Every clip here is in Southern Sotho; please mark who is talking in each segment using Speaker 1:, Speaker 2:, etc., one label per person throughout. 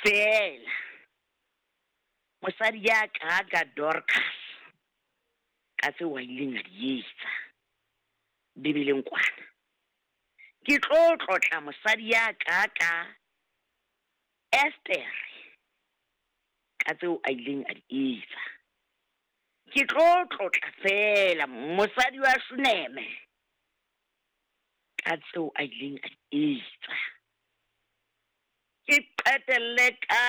Speaker 1: Feela mosadi ya ka ka Dorcas ka tseo a ileng a di etsa Bibeleng kwana. Ke tlo tlotla mosadi ya ka ka Estere ka tseo a ileng a di etsa. Ke tlo tlotla feela mosadi wa Shuneme ka tseo a ileng a di etsa. Ke qetelle ka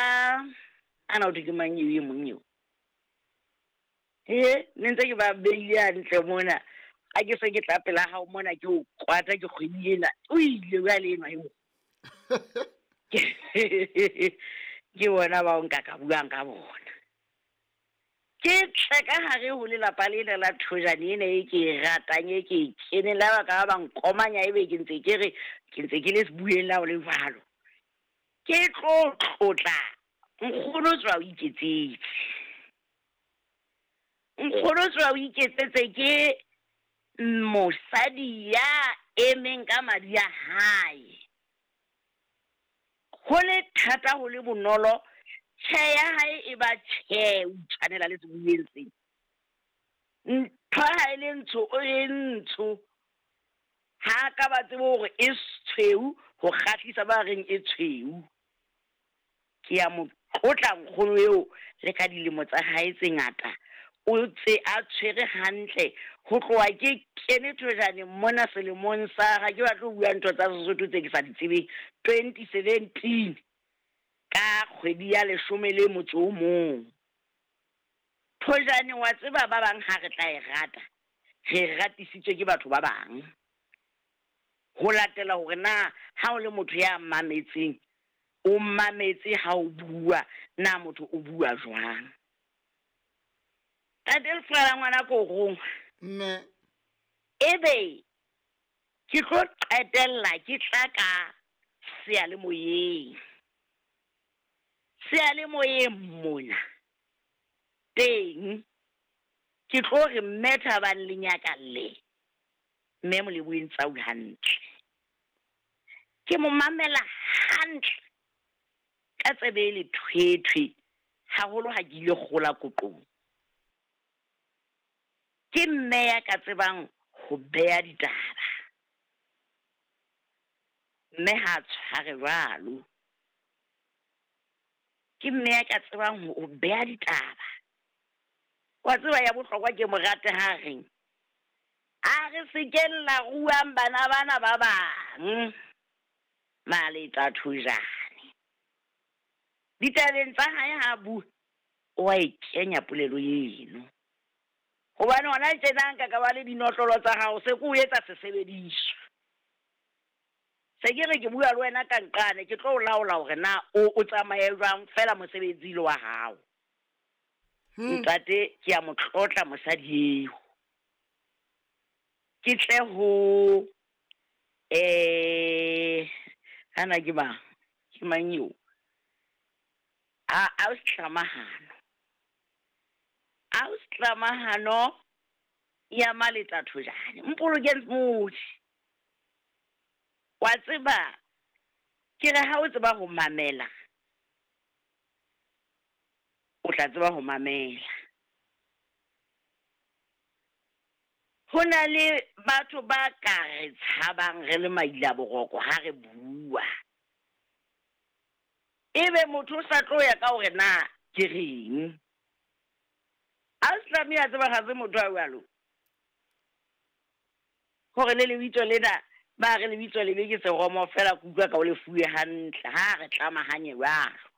Speaker 1: ana ho thwe ke mang eo e mong eo? He, ne ntse ke ba beile hantle mona. Ha ke se ke tla pela hao mona ke o kwata ke kgwedi ena. O ile jwale enwa eo. Ke bona bao nka ka buang ka bona. Ke tle ka hare ho lelapa lena la Thojane ena e ke e ratang e ke e keneng la ba ka ba nkomanya ebe ke ntse ke re ke ntse ke le sebueng la ho le jwalo. Ke tlo tlotla nkgono tswa o iketsetse. Nkgono tswa o iketsetse ke mosadi ya emeng ka madi a hae. Ho le thata ho le bonolo, tjhe ya hae e ba tjhe, o itshwanela le seboheng sena. Ntho ha e le ntsho o e ntsho. Ha a ka ba tsebe hore e tshweu ho kgahlisa ba reng e tshweu. Ke a mo tlotla nkgono eo le ka dilemo tsa hae tse ngata o tse a tshwere hantle ho tloha ke kene Thojaneng mona selemong sa ha ke batle ho bua ntho tsa Sesotho tse ke sa di tsebeng 2017 ka kgwedi ya leshome le motso o mong. Thojane wa tseba ba bang ha re tla e rata re e ratisitswe ke batho ba bang. Ho latela hore na ha o le motho ya mametseng o mametse ha o bua na motho o bua jwang. Ntate Lefala ngwana korong.
Speaker 2: Mme.
Speaker 1: Ebe ke tlo qetella ke tla ka seyalemoyeng. Seyalemoyeng mona teng ke tlo re mme Thabang le nyakalle mme Moleboheng Tsau hantle. Ke mo mamela hantle ka tsebe e lethwethwe haholo ha ke ile kgola koqong. Ke mme ya ka tsebang ho beha ditaba. Mme ha a tshware jwalo. Ke mme ya ka tsebang ho beha ditaba. Wa tseba ya bohlokwa ke mo rate ha reng, a re sekeng la ruang bana bana ba bang Maleta Thojane. Ditabeng tsa hae ha bua, o a e kenya polelo eno. Hobane hona tjena nka ka ba le dinotlolo tsa hao se ke o etsa sesebediswa. Se ke re ke bua le wena ka nqane ke tlo o laola hore na o o tsamaye jwang fela mosebetsi le wa hao. Ntate ke a mo tlotla mosadi eo. Ke tle ho eh ana ke mang? Ke mang eo? A Aus'Tlamahano. Aus'Tlamahano ya Maleta Thojane. Mpolokeng Modi. Wa tseba ke re ha o tseba ho mamela o tla tseba ho mamela. Ho na le batho ba ka re tshabang re le mailaboroko ha re bua. Ebe motho o sa tlo ya ka hore na ke reng. Ausi a tseba ga se motho a jwalo. Hore le lebitso lena ba re lebitso lebe ke seromo fela ke utlwa ka o le fuwe hantle ha re tlamahanye jwalo.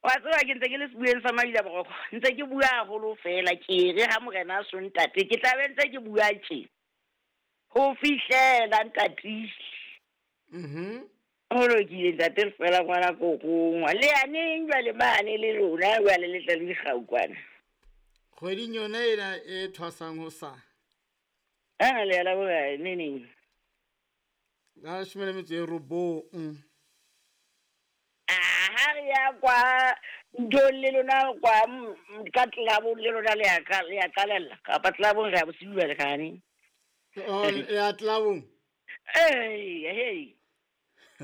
Speaker 1: Wa tseba ke ntse ke le sebueng sa Maila Boroko, ntse ke bua haholo fela ke re ha morena a so ntate ke tla be ntse ke bua tje ho fihlela ntatile.
Speaker 2: Mhm.
Speaker 1: Ho lokile ntate fela ngwana kokongwa. Le ya neng jwale mane le lona jwale le tla le dikgau kwana.
Speaker 2: Kgweding yona ena e thwasang ho sa.
Speaker 1: Ana le ya la bokae ne neng?
Speaker 2: La leshome le metso e robong.
Speaker 1: Ha re ya kwa nthong le lona kwa ka tlelabong le lona le ya ka le ya qalella kapa tlelabong re ya bosiu jwale kgane.
Speaker 2: Oh, ya tlelabong.
Speaker 1: Ee, hey.